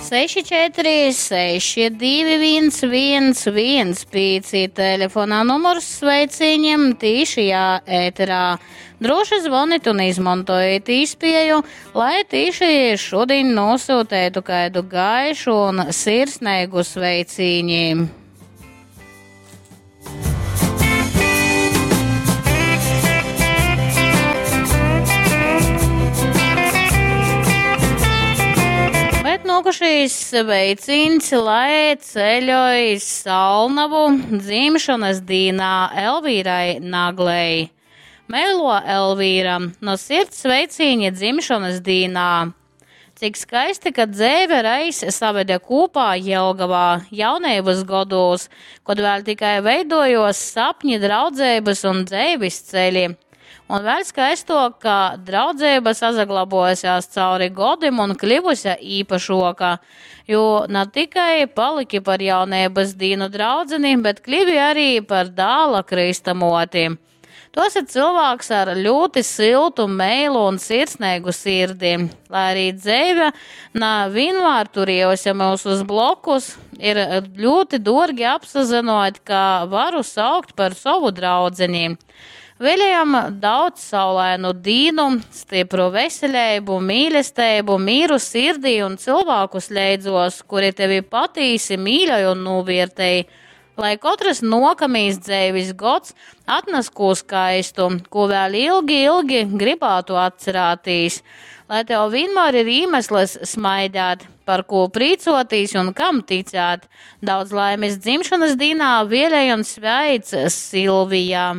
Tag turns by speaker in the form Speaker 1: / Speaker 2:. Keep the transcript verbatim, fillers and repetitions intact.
Speaker 1: Seši četri seši divi viens viens viens pīci telefonā numurs sveicīņiem tīšajā ēterā. Droši zvonit un izmantojiet īspēju, lai tīši šodien nosūtētu kādu gaišu un sirsnīgu sveicīņi. Bet nokušīs sveicīns, lai ceļoj Salnavu dzimšanas dīnā Elvīrai Naglei. Meilo Elvīra, no sirds sveicīņi dzimšanas dīnā. Cik skaisti, ka dzeive reiz saveda kopā Jelgavā jaunības godos, kad vēl tikai veidojos sapņi, draudzības un dzeives ceļi. Un vēl skaistok, ka draudzība sazaglabojasies cauri godim un kļuvusi īpašoka, jo ne tikai paliki par jaunības dīnu draudzeni, bet kļuvi arī par dāla kristamoti. Tu esi cilvēks ar ļoti siltu, meilu un sirsnīgu sirdi. Lai arī dzeive na vienmēr turējusi mūs uz blokus, ir ļoti dorgi apsazinot, ka varu saukt par savu draudzeni. Vēlējam daudz saulainu dīnu, stipru veselību, mīlestību, mīru sirdī un cilvēkus leidzos, kuri tevi patīsi, mīļoj un novērtēj. Lai katrs nokamīs dzeivis gods atnes ko skaistu, ko vēl ilgi, ilgi gribētu atcerēties. Lai tev vienmēr ir iemesls smaidāt, par ko prīcotīs un kam ticēt. Daudz laimes dzimšanas dienā vēlēj un sveic Silvija.